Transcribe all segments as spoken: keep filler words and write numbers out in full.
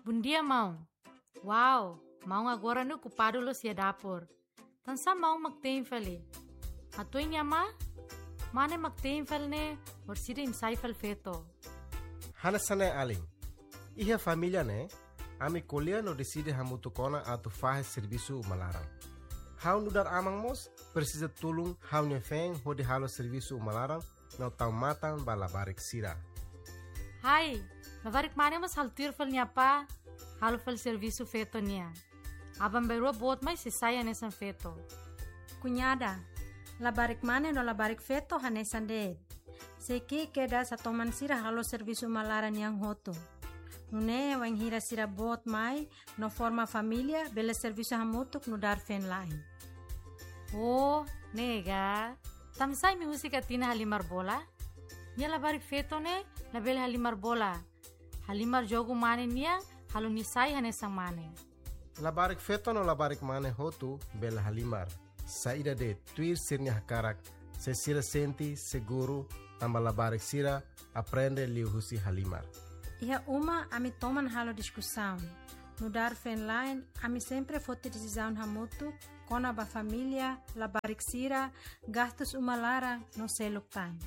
Bondia, maun. Wow, maun agora ne'e okupadu loos iha dapur. Tansá maun mak te'in fali? Hatudu nia amá, mane mak te'in fali ne'e, orsida imi sai fali feto. Hanesan ne'e alin. Iha família ne'e, ami ko'alia no deside hamutuk ona atu fahe servisu uma laran. Ha'u nu'udar aman mós presiza tulun ha'u-nia feen hodi halo servisu uma laran no tau matan ba labarik sira. Hai, labarik mane mós halo tuir fali nia apá, halo fali servisu feto nian. Aban-bainrua boot mai sei sai hanesan feto. Kuñada, labarik mane no labarik feto hanesan de'it. Sei ki'ik kedas atu toman sira halo servisu uma laran nian hotu. Nune'e wainhira sira boot mai no forma família, bele servisu hamutuk nu'udar feen-la'en. Oh, ne'e ka. Tansá imi husik Atina halimar bola? Nia labarik feto ne'e labele halimar bola. Halimar jogu mane nian, halo nia sai hanesan mane. Labarik feto no labarik mane hotu bele halimar. Saida de'it, tuir sira-nia hakarak, se sira sente seguru, tanba labarik sira aprende liuhusi halimar. Iha uma ami toman halo diskusaun. Nu'udar feen-la'en, ami sempre foti desizaun hamutuk kona-ba família, labarik sira, gastus uma laran no seluk tan.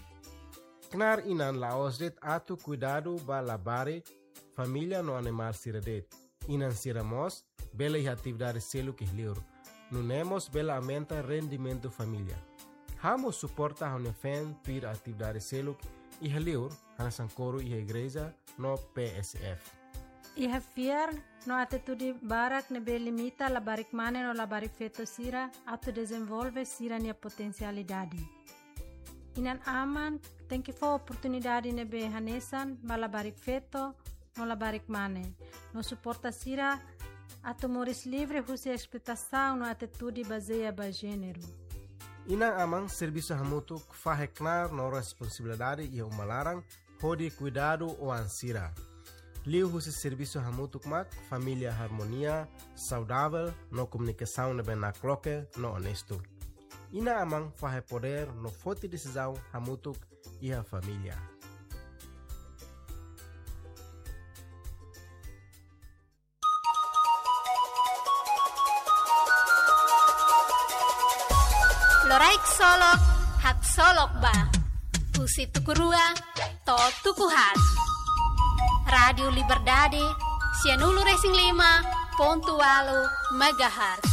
Knaar inan la'ós de'it atu kuidadu ba labarik, família no animál sira de'it. Inan sira mós bele iha atividade seluk iha li'ur. Nune'e mós bele aumenta rendimentu família. Ha'u mós suporta ha'u-nia feen tuir atividade seluk iha li'ur, hanesan koru iha igreja no P S F. Iha fiar no atitude barak ne'ebé limita labarik mane no labarik feto sira atu dezenvolve sira-nia potensialidade. Inan-aman tenke fó oportunidade ne'ebé hanesan ba labarik feto no labarik mane, no suporta sira atu moris livre husi esploitasaun no atitude bazeia ba jéneru. Inan-aman servisu hamutuk fahe knaar no responsabilidade iha uma laran hodi kuidadu oan sira. Liuhusi servisu hamutuk mak família harmonia, saudavel no komunikasaun ne'ebé nakloke no onestu. Inan-aman fahe podér no foti desizaun hamutuk iha família. Loraik solok, haksolok ba. Husi tuku rua to'o tuku haat. Rádiu Liberdade, sianulu resin lima pontu ualu megahertz.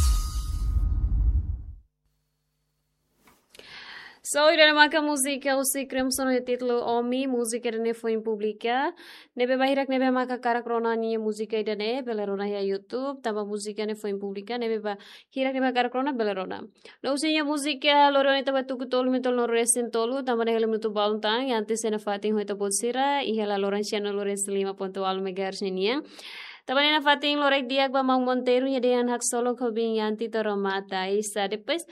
So, ida-ne'e maka múzika husi Creamson ho títulu Omi, múzika ida-ne'e foin publika. Ne'ebé ba hirak ne'ebé maka hakarak rona ninia múzika ida-ne'e, bele rona iha YouTube, tanba múzika ne'e foin publika, ne'ebé ba hirak ne'ebé hakarak rona, bele rona. No husi ninia múzika, lori ona ita ba tuku tolu, minutu tolunulu resin tolu, tanba ne'e hela minutu balun tan, Yanti sei nafatin ho ita-boot sira, iha hela loron sianulu resin lima pontu ualu megahertz ninian. Tanba ne'e nafatin loraik di'ak ba maun Monteiro, nia dehan haksolok ho biin Yanti to'o remata. Isa, depois,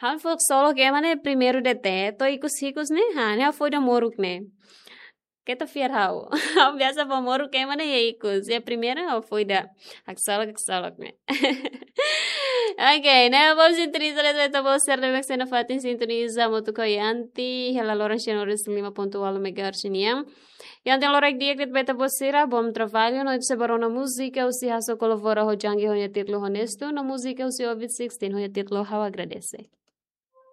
ha'u fó haksolok ema ne'e primeiru de'it, to'o ikus-ikus ne'e, ha, ne'e ha'u foin ida moruk ne'e. Keta fiar ha'u. Ha'u biasa fó moruk ema ne'e iha ikus. Iha primeiru ha'u foin ida. Haksolok, haksolok ne'e. Ok, ne'e ba sintoniza de'it ba ita-boot sira ne'ebé sei nafatin sintoniza hamutuk ho Yanti, hela loron sianulu resin lima pontu ualu megahertz nian. Yanti loraik di'ak de'it ba ita-boot sira, bom trabalho, no ita sei ba rona múzika husi Hasso Colvora ho Djangi ho nia títulu Honesto, no múzika husi Ovid Sixteen ho nia títulu Ha'u Agradese.